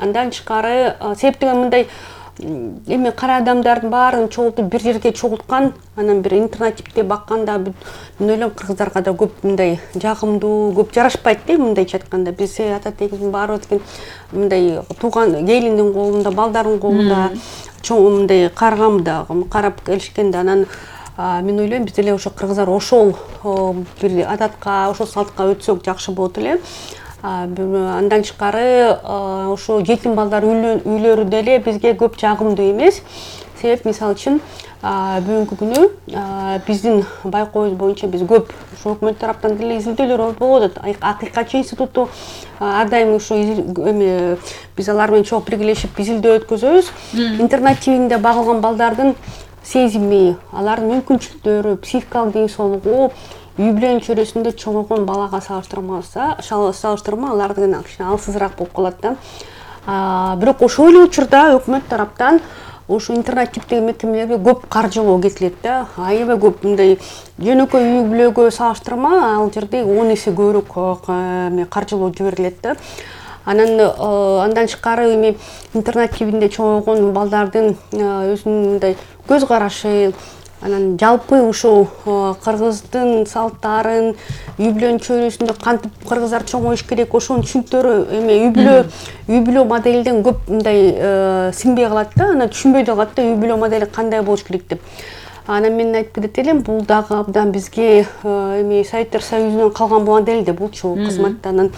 Андан тышкары себептен мындай эми кара адамдардын баарын чогултуп бир жерге чогулткан, анан бир интернативде бакканда мен ойлойм кыргыздарга да көп мындай жагымдуу, көп жарашпайт да мындайча айтканда. Биз ата тегибиздин баарыбыз деген мындай тууган келиндин колунда, балдардын колунда чоң мындай каргамда карап келишкенде, анан мен ойлойм биз деле ошо кыргыздар ошол бир адатка, ошол салтка өтсөк жакшы болот эле. Андан тышкары ошо жетим балдар үйлөрү деле бизге көп жагымдуу эмес. Себеп мисалы үчүн бүгүнкү күнү биздин байкообуз боюнча биз көп ошо өкмөт тараптан деле изилдөөлөр болуп атат. Акыйкатчы институту ар дайым ошо эми биз алар менен чогуу биргелешип изилдөө өткөзөбүз. Интернат тибинде багылган балдардын сезими, алардын мүмкүнчүлүктөрү, психикалык ден соолугу үй бүлөнүн чөйрөсүндө чоңойгон балага салыштырма алар деген кичине алсызыраак болуп калат да. Бирок ошол эле учурда өкмөт тараптан ошо интернат типтеги мекемелерге көп каржылоо кетилет да. Аябай көп мындай жөнөкөй үй бүлөгө салыштырма ал жерде 10 эсе көбүрөөк каржылоо жиберилет да. Андан тышкары эми интернат тибинде чоңойгон балдардын өзүнүн мындай көз карашы, анан жалпы ушул кыргыздын салттарын, үй бүлөнүн чөйрөсүндө кантип кыргыздар чоңоюш керек, ошонун түшүнүктөрү эми үй бүлө моделден көп мындай сиңбей калат да, анан түшүнбөй да калат да үй бүлө модели кандай болуш керек деп. Анан мен айтып кетет элем, бул дагы абдан бизге эми Советтер Союзунан калган модель да булчу кызматта. Анан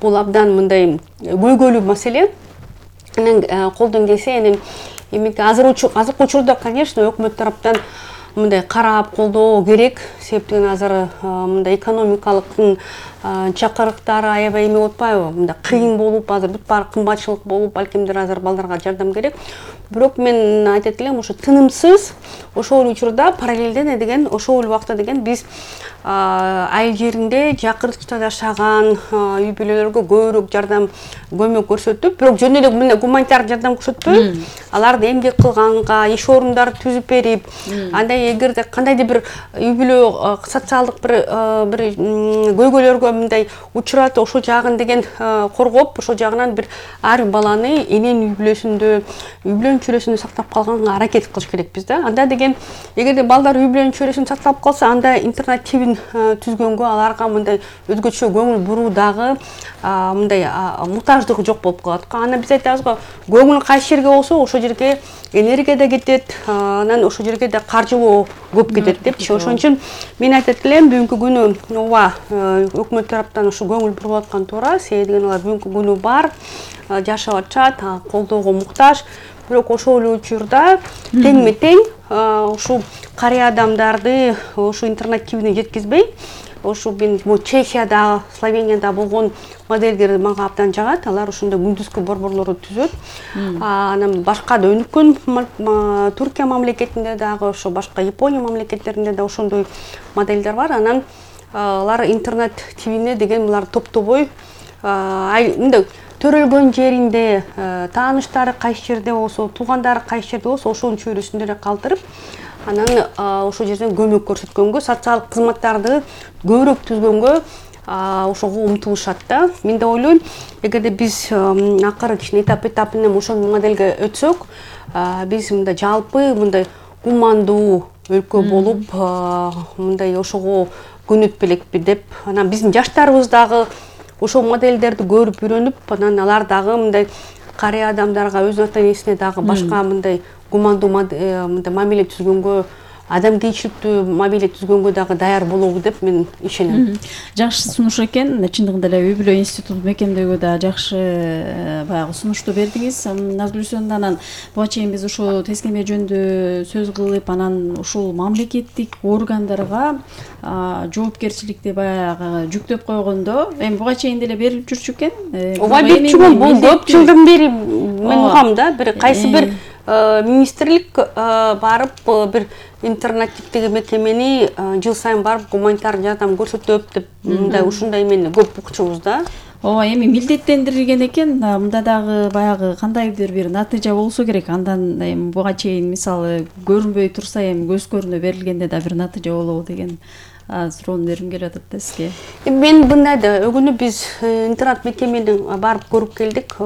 бул абдан мындай көйгөйлүү маселе. Анан колдон келсе эми азыркы учурда, конечно, өкмөт тараптан мындай карап колдоо керек. Себептен азыр мындай экономикалык чакырыктары аябай эме болуп атпайбы? Мындай кыйын болуп, азыр бүт баары кымбатчылык болуп, балкимдир азыр балдарга жардам керек. Бирок мен айтат элем, ошо тынымсыз ошол учурда параллелден деген ошол убакта деген биз айыл жеринде жакыртыкча жашаган үй бүлөлөргө көбүрөөк жардам, көмөк көрсөтүп, бирок жөн эле мындай гуманитардык жардам көрсөтпөй, аларды эмгек кылганга, иш орундарын түзүп берип, андай эгерде кандайдыр бир үй бүлө социалдык бир көйгөйлөргө мындай учурат, ошол жагын деген коргоп, ошол жагынан бир ар бир баланы эненин үй бүлөнүн чөйрөсүндө сактап калганга аракет кылыш керекпиз да. Анда деген эгерде балдар үй бүлөнүн чөйрөсүндө сакталып калса, анда интернат тибин түзгөнгө аларга мындай өзгөчө көңүл буруу дагы мындай муктаждыгы жок болуп калат. Анан биз айтабыз го, көңүл кайсы жерге болсо, ошол жерге энергия да кетет, анан ошол жерге да каржылоо көп кетет депчи. Ошон үчүн мен айтат элем, бүгүнкү күнү ооба өкмөт тараптан ушу көңүл буруп аткан туура, себеби деген алар бүгүнкү күнү бар, жашап атышат, колдоого муктаж. Бирок ошол эле учурда теңме тең ушул карый адамдарды ошо интернат тибине жеткизбей, ошо мен Чехияда, Словенияда болгон модельдер мага абдан жагат. Алар ошондой күндүзгү борборлорду түзөт. Анан башка да өнүккөн Туркия мамлекетинде дагы, ошо башка Япония мамлекеттеринде да ошондой модельдер бар. Анан алар интернат тибине деген булар топтобой мындай төрөлгөн жеринде, тааныштары кайсы жерде болсо, туугандары кайсы жерде болсо, ошонун чөйрөсүндө эле калтырып, анан ошол жерден көмөк көрсөткөнгө, социалдык кызматтарды көбүрөөк түзгөнгө ошого умтулушат да. Мен да ойлойм, эгерде биз акыры кичине этап менен ошол моделге өтсөк, биз мындай жалпы мындай гумандуу өлкө болуп, мындай ошого көнөт белекпи деп, анан биздин жаштарыбыз дагы ошол модельдерди көрүп үйрөнүп, анан алар дагы мындай карый адамдарга, өз ата энесине дагы башка мындай гумандуу мамиле түзгөнгө, адамгерчиликтүү мамиле түзгөнгө дагы даяр болобу деп мен ишенем. Жакшы сунуш экен. Чындыгында эле үй бүлө институту мекемдөөгө да жакшы баягы сунушту бердиңиз. Назгүлсөнүн анан буга чейин биз ушул тескеме жөнүндө сөз кылып, анан ушул мамлекеттик органдарга жоопкерчиликти баягы жүктөп койгондо, эми буга чейин деле берилип жүрчү экен. Ооба, берип жүргөн, бул көп жылдан бери мен угам да, бир кайсы бир министрлик барып бир интернативдеги мекемени жыл сайын барып гуманитардык жардам көрсөтөп деп мындай ушундай эмени көп укчубуз да. Ооба, эми милдеттендирилген экен. Мында дагы баягы кандайдыр бир натыйжа болсо керек. Андан эми буга чейин мисалы көрүнбөй турса, эми көз көрүнө берилгенде да бир натыйжа болобу деген суроону бергим келип атат да сизге. Мен мындай да, өгүнү биз интернат мекемени барып көрүп келдик.